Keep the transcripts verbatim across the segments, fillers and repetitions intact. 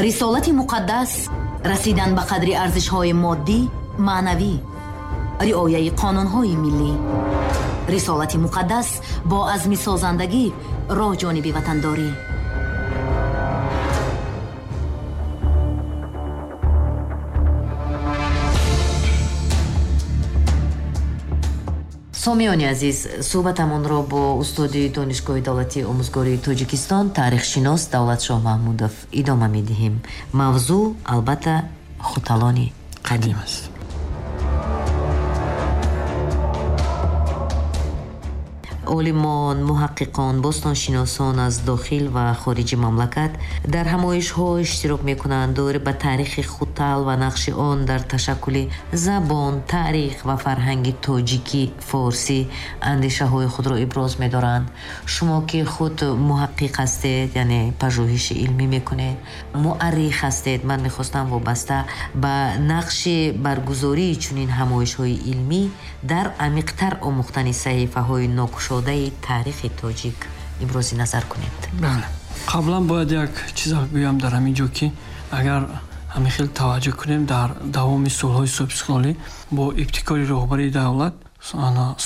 Рисолати муқаддас расидан ба қадри арзишҳои моддӣ, маънавӣ, риояи қонунҳои миллӣ. Рисолати муқаддас бо азми созандагӣ роҳ ҷониби ватандорӣ. Сомиёни азиз, суҳбатамонро бо устоди Донишгоҳи давлатии омӯзгории Тоҷикистон, таърихшинос Давлатшоҳ Маҳмудов идома медиҳем. Мавзӯъ албатта хуталони қадим аст. Олимон, муҳаққиқон, бостоншиносон аз дохил ва хориҷи мамлакат дар ҳамоишҳо иштирок мекунанд, доир ба таърихи Хутал ва нақши он дар ташаккули забон, таърих ва фарҳанги тоҷикӣ, форсӣ андешаҳои худро иброз медоранд. Шумо ки худ муҳаққиқ ҳастед, яъне пажӯҳиши илмӣ мекунед, муаррих ҳастед, ман мехостам вобаста ба нақши баргузории чунин ҳамоишҳои илмӣ дар амиқтар омӯхтани саҳифаҳои нокушодаи таърихи тоҷик ибрози назар кунед. Бале, қаблан бояд як чиз гӯям дар ҳамин ҷо, ки агар ҳамин хел таваҷҷӯҳ кунем, дар давоми солҳои собиқистиқлолӣ бо ибтикори роҳбарии давлат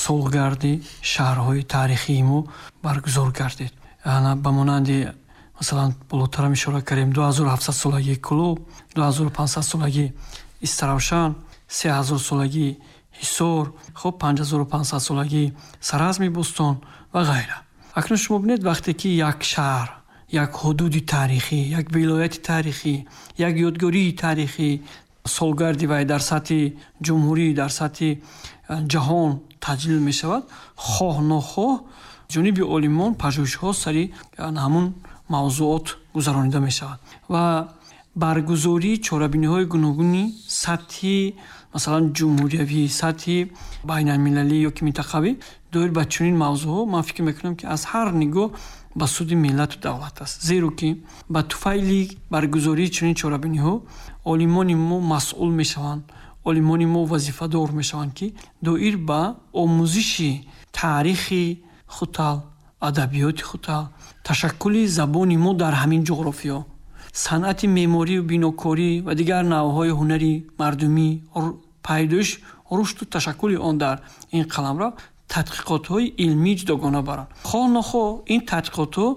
солгарди шаҳрҳои таърихии мо баргузор гардид. Ба монанди масалан болотарам ишора кардем, ду ҳазору ҳафтсад солагии Кӯлоб, ду ҳазору панҷсад солагии Истаравшан, се ҳазор солагии Ҳисор, хуб панҷ ҳазору панҷсад солагии Саразми Бӯстон ва ғайра. Акнун шумо бинед, вақте ки як шаҳр, як ҳудуди таърихӣ, як вилояти таърихӣ, як ёдгории таърихӣ солгарди вай дар сатҳи ҷумҳурӣ, дар сатҳи ҷаҳон таҷлил мешавад, хоҳ нохоҳ ҷониби олимон пажӯҳишҳо сари ҳамун мавзӯот гузаронида мешавад ва баргузории чорабиниҳои гуногуни сатҳи масалан ҷумҳуриявӣ, сатҳи байналмилалӣ ё ки минтақавӣ доир ба чунин мавзӯъҳо ман фикр мекунам, ки аз ҳар нигоҳ ба суди миллату давлат аст. Зеро ки ба туфайли баргузории чунин чорабиниҳо олимони мо масъул мешаванд, олимони мо вазифадор мешаванд, ки доир ба омӯзиши таърихи Хутал, адабиёти Хутал, ташаккули забони мо дар ҳамин ҷуғрофиё, санъати меъморию бинокорӣ ва дигар навъҳои ҳунари мардумӣ, пайдоиш, рушду ташаккули он дар ин қаламрав тадқиқотҳои илмии ҷудогона баранд. Хоҳ нохоҳ ин тадқиқотҳо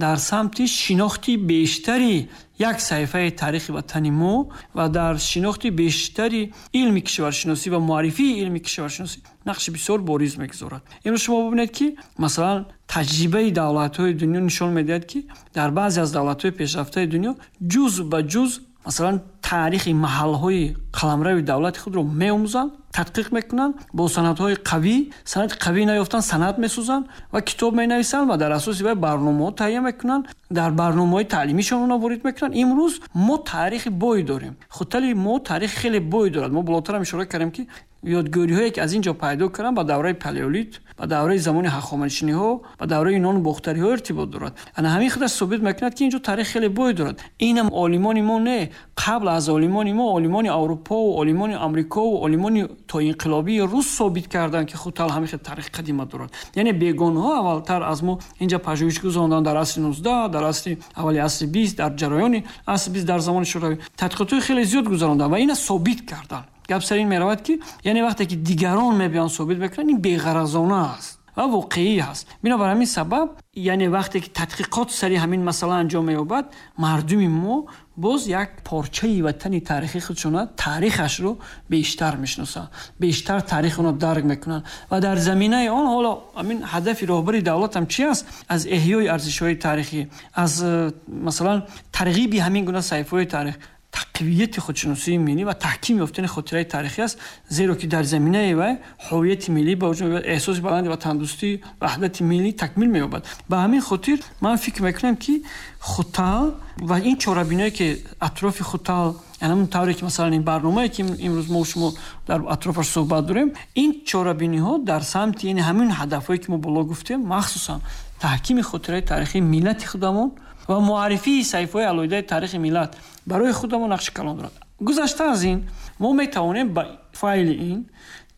дар самти шинохти бештари як саҳифаи таърихи ватани мо ва дар шинохти бештари илми кишваршиносӣ ва муаррифии илми кишваршиносӣ нақши бисёр бориз мегузорад. Имрӯз шумо бибинед, ки масалан таҷрибаи давлатҳои дунё нишон медиҳад, ки дар баъзе аз давлатҳои пешрафтаи дунё ҷуз ба ҷуз масалан таърихи маҳалҳои қаламрави давлати худро меомӯзанд, тадқиқ мекунанд, бо санадҳои қавӣ, санади қавӣ наёфтанд, санад месозанд ва китоб менависанд ва дар асоси вай барномаҳо таҳия мекунанд, дар барномаҳои таълимишон онро ворид мекунанд. Имрӯз мо таърихи бой дорем. Хутали мо таърихи хеле бой дорад. Мо болотарам ишора кардем, ки ёдгориҳое ки аз ин ҷо пайдо карданд ба давраи палеолит, ба давраи замони ҳахоманишиниҳо, ба давраи юнону бохтариҳо иртибот дорад. Ана ҳамин худаш собит мекунад, ки ин ҷо таърих хеле бой дорад. Инам олимони мо не, қабл аз олимони мо олимони Аврупо ва олимони Амрико ва олимони то инқилобии рус собит карданд, ки Хутал ҳамин хел таърихи қадима дорад. Яъне бегонҳо аввалтар аз мо инҷа пажӯҳиш гузаронданд дар асри нуздаҳ, дар асри аввали асри бист, дар ҷараёни асри бист, дар замони Шӯравӣ тадқиқотҳои хеле зиёд гузаронданд ва ина собит карданд. Гап сар ин меравад, ки яъне вақте ки дигарон мебиёнд собит мекунанд, ин беғаразона аст ва воқеӣ ҳаст. Бинобар ҳамин сабаб, яъне вақте ки тадқиқот сари ҳамин масъала анҷом меёбад, мардуми мо боз як порчаи ватани таърихии худшона, таърихашро бештар мешиносанд, бештар таърихи онро дарк мекунанд ва дар заминаи он ҳоло ҳамин ҳадафи роҳбари давлат ҳам чи аст? Аз эҳёи арзишҳои таърихӣ, аз масалан тарғиби ҳамин гуна саҳифаҳои таърих, тақвияти худшиносии миллӣ ва таҳким ёфтани хотираи таърихӣ аст, зеро ки дар заминаи вай ҳувияти миллӣ ба вуҷуд меояд, эҳсоси баланди ватандӯстӣ, ваҳдати миллӣ такмил меёбад. Ба ҳамин хотир ман фикр мекунам, ки Хутал ва ин чорабиное ки атрофи Хутал, яъне ҳамон тавре ки масалан ин барномае ки имрӯз мо шумо дар атрофаш суҳбат дорем, ин чорабиниҳо дар самти яъне ҳамин ҳадафҳое ки мо боло гуфтем, махсусан таҳкими хотираи таърихии миллати худамон ва муаррифии саҳифаҳои алоҳидаи таърихи миллат барои худамон нақши калон дорад. Гузашта аз ин мо метавонем ба файли ин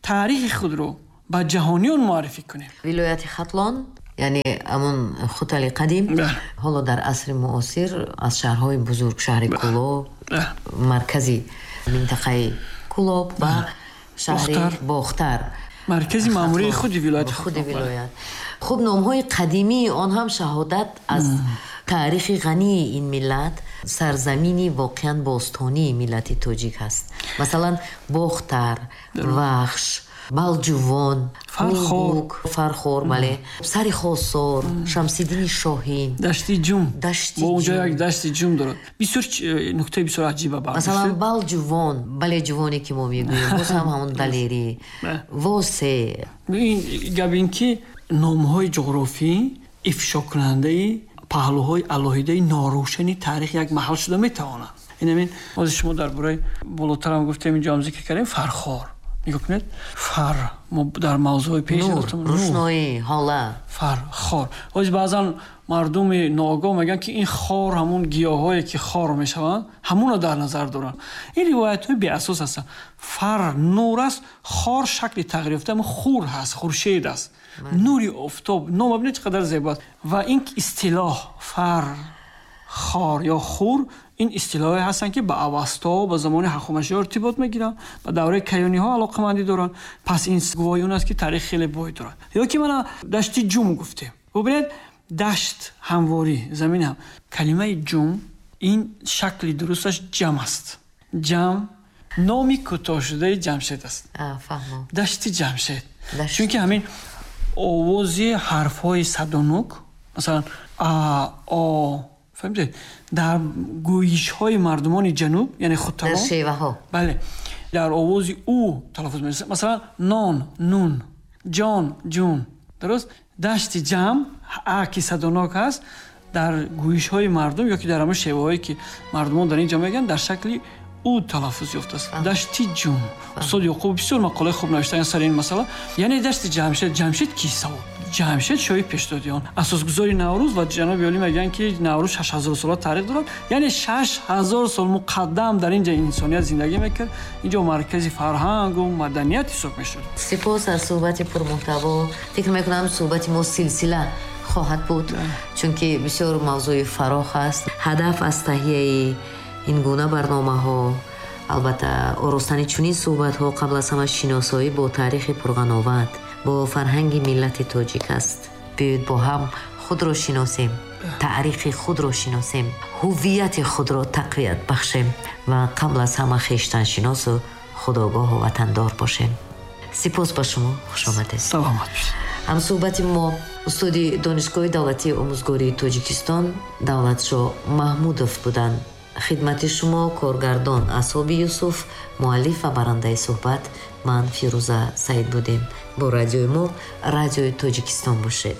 таърихи худро ба ҷаҳониён муаррифӣ кунем. Вилояти Хатлон Яъне ҳамон Хутали қадим ҳоло дар асри муосир аз шаҳрҳои бузург, шаҳри Кӯлоб, маркази минтақаи Кӯлоб ва шаҳри Бохтар, маркази маъмурии худи вилоят, худи вилоят. Хуб, номҳои қадимии он ҳам шаҳодат аз таърихи ғании ин миллат, сарзамини воқеан бостонии миллати тоҷик ҳаст. Масалан, Бохтар, Вахш, Балҷувон, Фархор, Фархор, бале, Сари Хосор, Шамсиддини Шоҳин, Дашти Ҷум, Дашти Ҷум, онҷо як Дашти Ҷум дорад. Бисёр нуктаи бисёр аҷиба бардошт. Масалан, Балҷувон, бале, ҷувоне ки мо мегӯем, боз ҳам ҳамон далерӣ, Восе. Ин гап ин ки номҳои ҷуғрофӣ ифшокунандаи паҳлӯҳои алоҳидаи норӯшани таърих як маҳал шуда метавонанд. Ин ҳамин ҳозир шумо дар бораи болотарам гуфтем, инҷо ҳам зикр кардем, Фархор. Нигоҳ кунед, фар мо дар мавзӯи пеш рӯшноӣ, ҳола, фар, хор. Ҳозир баъзан мардуми ноогоҳ мегӯянд ки ин хор ҳамон гиёҳҳое ки хор мешаванд, ҳамонро дар назар доранд. Ин ривоятҳои беасос ҳастанд. Фар нур аст, хор шакли тағйир ёфта, ҳамон хур ҳаст, хуршед аст, нури офтоб. Ном бибинед чӣ қадар зебо аст. Ва ин истилоҳ фар, хор ё хур, ин истилоҳое ҳастанд ки ба Авасто, ба замони Ҳахоманишиҳо иртибот мегиранд, ба давраи каёниҳо алоқамандӣ доранд. Пас ин гувоҳи он аст ки таърих хеле бой дорад. Ё ки мана Дашти Ҷум гуфтем. Бубинед, дашт ҳамворӣ, замин ҳам. Калимаи ҷум ин шакли дурусташ ҷам аст. Ҷам номи кӯтоҳшудаи Ҷамшед аст. Фаҳмам. Дашти Ҷамшед. Чунки ҳамин овози ҳарфҳои садонук, масалан а, о, фаҳмидед, дар гӯйишҳои мардумони ҷануб, яъне Хуталон, дар шеваҳо, бале, дар овози ӯ талаффуз мешавад. Масалан, нон, нун, ҷон, ҷун. Дуруст? Дашти ҷам, а ки садонок ҳаст, дар гӯйишҳои мардум ё ки дар ҳамон шеваҳое ки мардумон дар ин ҷо мегӯянд, дар шакли ӯ талаффуз ёфтааст. Дашти Ҷум. Устод Ёқуб бисёр мақолаи хуб навиштаанд сари ин масъала. Яъне Дашти Ҷамшед. Ҷамшед ки савол? Ҷамшед шоҳи пешдодиён, асосгузори Наврӯз, ва ҷаноби олӣ мегӯянд ки Наврӯз шаш ҳазор сола таърих дорад. Яъне шаш ҳазор сол муқаддам дар инҷо инсоният зиндагӣ мекард. Инҷо маркази фарҳангу маданият ҳисоб мешуд. Сипос аз суҳбати пурмуҳтаво. Фикр мекунам суҳбати мо силсила хоҳад буд, чунки бисёр мавзӯи фарох аст. Ҳадаф аз таҳияи ин гуна барномаҳо, албатта оростани чунин суҳбатҳо, қабл аз ҳама шиносоӣ бо таърихи пурғановат, бо фарҳанги миллати тоҷик аст. Биёед бо ҳам худро шиносем, таърихи худро шиносем, ҳуввияти худро тақвият бахшем ва қабл аз ҳама хештаншиносу худогоҳу ватандор бошем. Сипос ба шумо, хушомадед. Саломат бошед. Ҳамсуҳбати мо устоди Донишгоҳи давлатии омӯзгории Тоҷикистон Давлатшоҳ Маҳмудов буданд. Хидмати шумо коргардон Асоби Юсуф, муаллиф ва барандаи суҳбат ман Фирӯза Саид будем. Бо радиои мо, Радиои Тоҷикистон бошед.